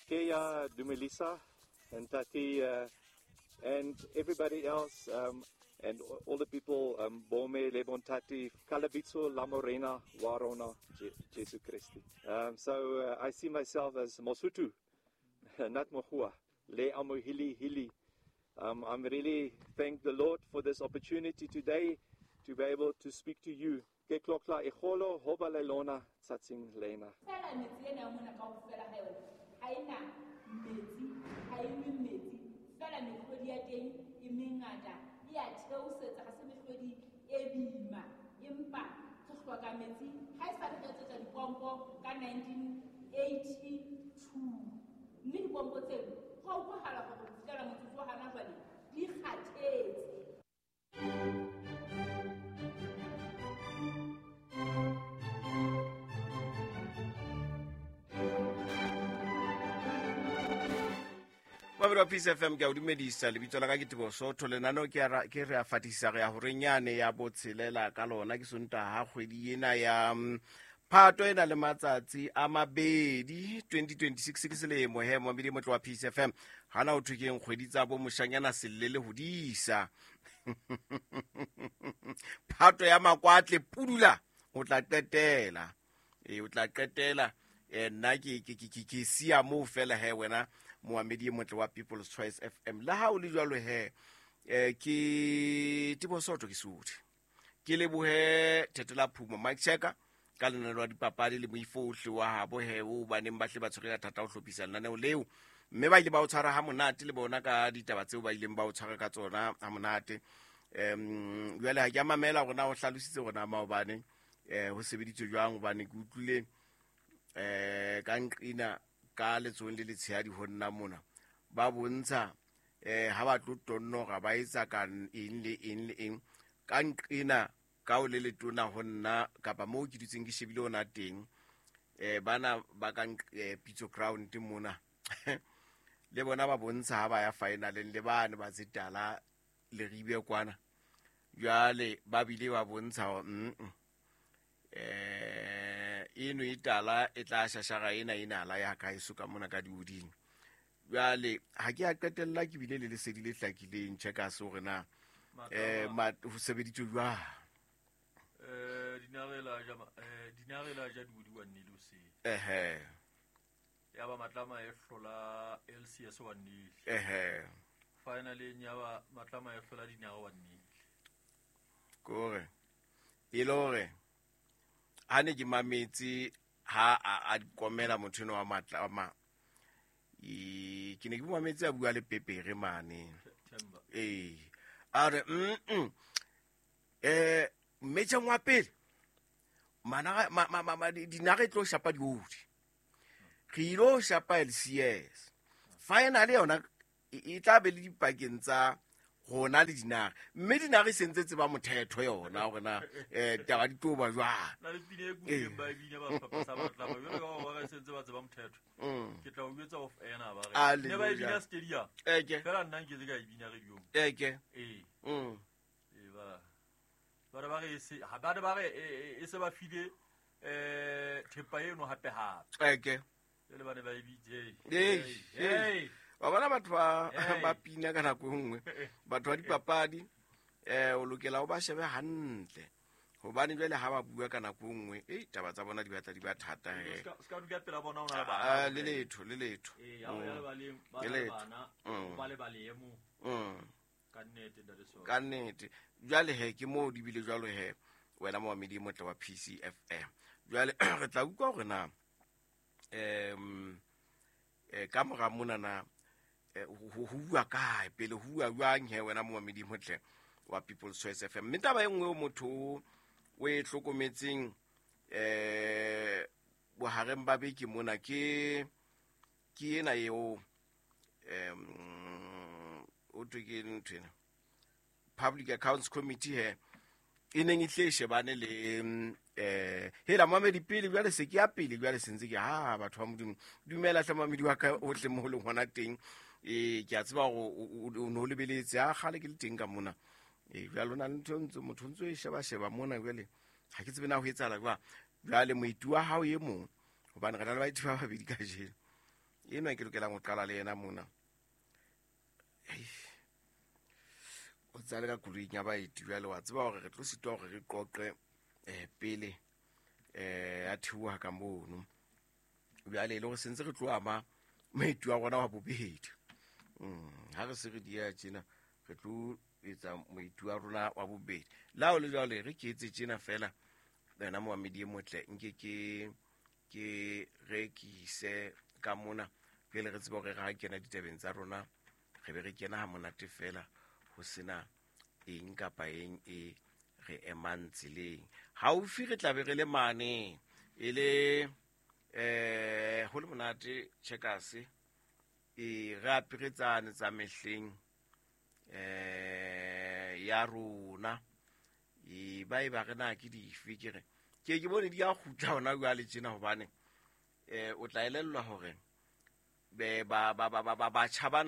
Keya Dumelisa and Tati and everybody else and all the people, Bome, Lebontati, Kalabitso, Lamorena, Warona, Jesu Christi. So I see myself as Mosutu, not Mohua, Le Amohili Hili. I'm really thank the Lord for this opportunity today to be able to speak to you. Ke tlotla e kgolo ho ba le lona tsatsing lena. Fela metse ena ya mona kaofela ha yona ha e na metsi, ha e nwe metsi. Fela mehlodi ya teng e mengata, e a theosetsa, ha se mehlodi e boima, empa re hloka metsi. Ha e sa re re etsetsa dipompo ka 1982, mme dipompo tseno ho a utlwahala hore ho fihlela motsotso wa hana jwale di kgathetse. Mamedi wa Peace FM, ke a o dumedisa. Lebitso la ka ke Teboho Sotho. Lenaneo ke a ke re a fatisisa re ya horeng yane ya botshelela ka lona. Ke Sontaha kgwedi ena ya Phato e na le matsatsi a mabedi 2026 ke selemo he momedi motle wa Peace FM. Hana o thwe keng kgwedi tsa bo moshanyana selle le hodisa. Phato ya makwatle pudula o tla qetela. E o tla qetela nna ke ke ke ke siya moo fela he wena moamedi e motle wa People's Choice FM. Le ha o le jwalo he ke Teboho Sotho ke Sotho. Ke lebohe Thetela Phumo Mike Checker ka lenaneo la dipapadi le moifo ohle wa habo he o baneng ba hle ba tshwere ka thata ho hlophisa lenaneo leo, mme ba ile ba o tshwara ha monate le bona ka ditaba tseo ba ileng ba o tshwara ka tsona ha monate. Jwale ha ke a mamela hore na o hlalositse hore na maobane ho sebeditswe jwang, hobane ke utlwile ka nqina ka letsohong le letshehadi ho nna mona ba bontsha ha ba tlo tonnora ba etsa ka eng le eng le eng ka nqina ka o le letona ho nna kapa moo ke dutseng ke shebile ona teng bana ba ka Pitso Ground mona le bona ba bontsha ha ba ya finaleng le bane ba tsetala le ribe kwana jwale ba bile ba bontsha hore eno e tala e tla shashara ena e nala ya ka eso ka mona ka dioding. Jwale ha ke a qetella ke bile le lesedi le hlakileng tjhe ka se hore na ho sebeditswe jwang. Dinare la ja diodi wa nnile o se. Ya ba Matlama e hlola LCS wa nnile. Finally ya ba Matlama e hlola Dinare wa nnile. Kore e le hore ha ne ke mametse ha a komela motho eno wa Matlama, ke ne ke mametse a bua le Pepere mane. A re mmetjheng wa pele mana dinare e tlo shapa diodi, re ilo shapa LCS final yona e tla be le dipakeng tsa rona le dinare, mme dinare e sentse tseba mothetho yona hore na taba di tlo ba jwang. Na le pina e kutlwileng ba e bina ba sehlopha sa Matlama, jwalo ka ba re sentse ba tseba mothetho. Ke tla o jwetsa off air na ba re. Hallelujah. Ne ba e bina stadium. Eke. Fela nna nke se ka e bina radiong. Eke. Ee. Ee, ba. Ba re ba re se, ha ba re ba re, e se ba file, thepa eno hape hape. Eke. Jwale ba ne ba e bitse. Ee, Hey, ee. hey. Wa bona batho Hey. ba pina ka nako e nngwe, batho ba dipapadi, o lokela o ba shebe hantle, hobane jwale ha ba bua ka nako e nngwe, taba tsa bona di batla di ba thata he. Se ka dula pela bona o na le bana. Le letho, le letho. Ee, ha o ya lebaleng, ba Le na le letho. bana, ba lebale e mong. Ka nnete, ntate Solo. Ka nnete. Jwale he, ke moo di bile jwalo he, wena moamedi e motle wa PCFM. Jwale re tla utlwa hore na, ka mora mona na, ho bua kae pele, ho bua jwang he wena moamedi e motle wa People's Choice FM. Mme taba e nngwe eo motho o e hlokometseng, bohareng ba beke mona ke ena eo, o thwe ke ntho ena, Public Accounts Committee he, e neng e tle e shebane le, hela moamedi pele, jwale se ke ya pele, jwale se ntse ke, ha, batho ba Modimo, dumela hle moamedi wa ka ohle mo leng hona teng. Ke a tseba hore o no lebeletse, ha kgale ke le teng ka mona. Jwale ho na le ntho e ntse, motho o ntso e sheba-sheba mona jwale, ha ke tsebe na ho etsahala jwang. Jwale moeti wa hao e mong, hobane re na le baeti ba babedi kajeno. Enwa ke lokelang ho qala le yena mona. O tsale ka koloing ya baeti jwale, wa tseba hore re tlo sitwa hore re qoqe pele a theoha ka mono. Jwale e le hore sentse re tlo ama moeti wa rona wa bobedi. Ha re se re dia tjena, re tlo etsa moeti wa rona wa bobedi. La ho le jwale re ke etse tjena fela, wena momamedi e motle, nke ke rekise ka mona pele re tsebe hore re ha kena ditabeng tsa rona, re be re kena ha monate fela, ho sena eng kapa eng e re emang tseleng. Haufi re tla be re le mane e le ho le monate Checkers, e re aperetsane tsa mehleng ya rona. E ba e ba re na ke dife, ke re ke bone di a kgutla hona jwale tjena, hobane o tla elellwa hore be ba batjha bana